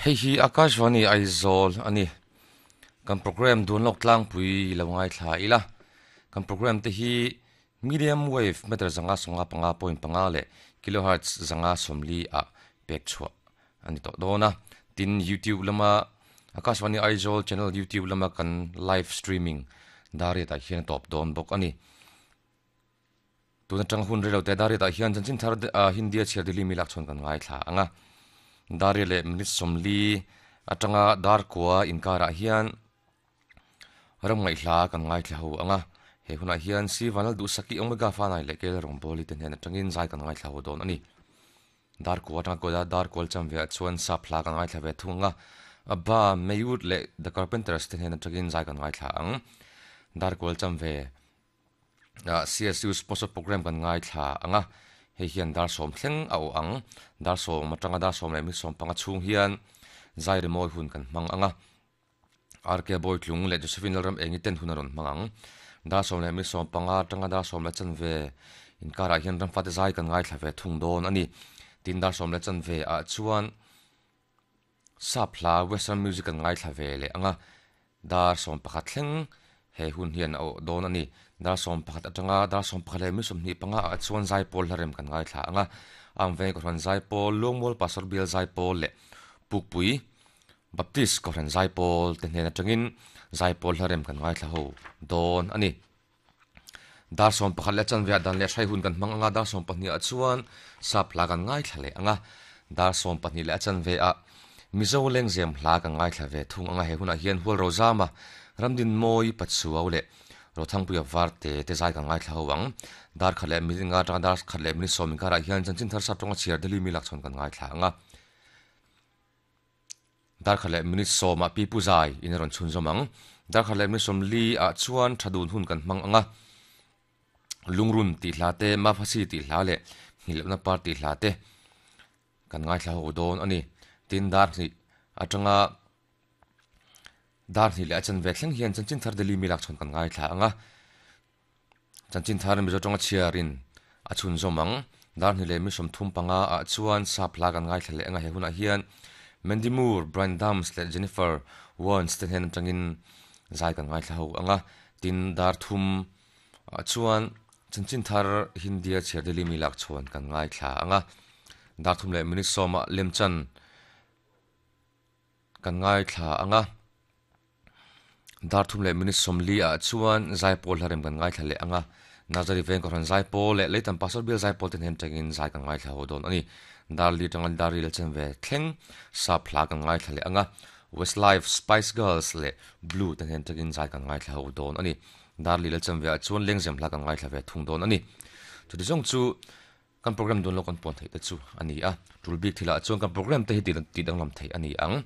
Hei hi Akashvani Aizawl a ni. Kan program dun lawk tlangpui lo ngaithla ila. Kan program te hi medium wave meter 195.5 leh kilohertz 140 ah pek chhuah a ni tawh dawn a. Tin, YouTube lama Akashvani Aizawl channel YouTube lama kan live streaming dariatah hian a tawp dawn bawk a ni. Tun atanga hun rilo te Dariatah hian chanchin thar Hindia chhiar Delhi mi lak chhawn kan ngaithla ang a. Daria leh minute 40 atanga dar kua inkarah hian ram ngaihhla kan ngaithla ho ang a. He hunah hian Si Vanlal Duhsaki Omega Fanai leh Kel Rawngbawli te hnen atangin zai kan ngaithla ho dawn a ni. Dar kua atanga kuala dar kual cham veah chuan sap hla kan ngaithla ve thung ang a. Abba, Maywood leh The Carpenters te hnen atangin zai kan ngaithla ang. Dar kual cham ve CSU sponsor program kan ngaithla ang a, hei hian dar sawm thleng a awh ang, dar sawm atanga dar sawm leh mi sawm panga chhung hian zai rimawi hun kan hmang ang a, RK Bawitlung leh Josephine Lalram Engi ten hun a rawn hmang ang, dar sawm leh mi sawm panga atanga dar sawm leh chanve inkarah hian ramfate zai kan ngaithla ve thung dawn a ni, tin dar sawm leh chanve ah chuan Sap hla Western music kan ngaithla ve leh ang a, dar 11 thleng he hun hian a awh dawn a ni. Dar 11 atanga dar 11 leh mi 25 ah chuan zaipawl hla rem kan ngaithla ang a, Amveng Kohhran Zaipawl, Luangmual Pastor Bial Zaipawl leh Pukpui Baptist Kohhran Zaipawl te hnen atangin zaipawl hla rem kan ngaithla ho dawn a ni. Dar 11 leh chanve ah dan leh hrai hun kan hmang ang a, dar 12 ah chuan sap hla kan ngaithla leh ang a, dar 12 leh a chanve ah Mizo lengzem hla kan ngaithla ve thung ang a, he hunah hian Hual Rozama, Ramdinmawi Pachuau leh Rothangpuia Varte te zai kan ngaithla ho ang. Dar khat leh minute nga atanga dar khat leh minute sawm inkarah hian chanchin thar sap tawnga chhiar Delhi mi lakchhawn kan ngaithla ang a. Darkhat leh minute sawmah Pi Pu Zai in a rawn chhunzawm ang. Darkhat leh minute 40 ah chuan tha dun hun kan hmang ang a. Lungrun tih hla te, Mafasi tih hla leh Nghilhlohna par tih hla te kan ngaithla ho dawn a ni. Tin, dar hnih atanga dar hnih leh a chanve thleng hian chanchin thar Delhi mi lakchhawn kan ngaithla ang a. Chanchin thar Mizo tawnga chhiarin a chhunzawm ang. Dar hnih leh mi 35 ah chuan sap hla kan ngaithla leh ang a, he hunah hian Mandy Moore, Bryan Adams leh Jennifer Warnes te hnen atangin zai kan ngaithla ho ang a. Tin, dar thum ah chuan chanchin thar Hindia chhiar Delhi mi lak chhawn kan ngaithla ang a. Dar thum leh minute sawm ah lemchan kan ngaithla ang a. Dar thum leh minute 40 ah chuan zaipawl hla rem kan ngaithla leh ang a, Nazari veng kohhran zaipawl leh Leitan Pastor bial zaipawl te hnen tangin zai kan ngaithla ho dawn a ni. Dar li tanga dar ril chen ve thleng sap hla kan ngaithla leh ang a, Westlife, Spice Girls leh Blue te hnen tangin zai kan ngaithla ho dawn a ni. Dar li leh chen ve ah chuan lengzem hla kan ngaithla ve thung dawn a ni. Chuti zawng chu kan program dawn lo kan puan theih te chu a ni a, tul bik thilah chuan kan program te hi tih danglam theih a ni ang.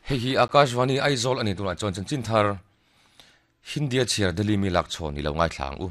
Hei hi Akashvani Aizawl a ni tunah chuan chanchin thar Hindia chhiar Delhi mi lak chhawn i lo ngaithla ang u.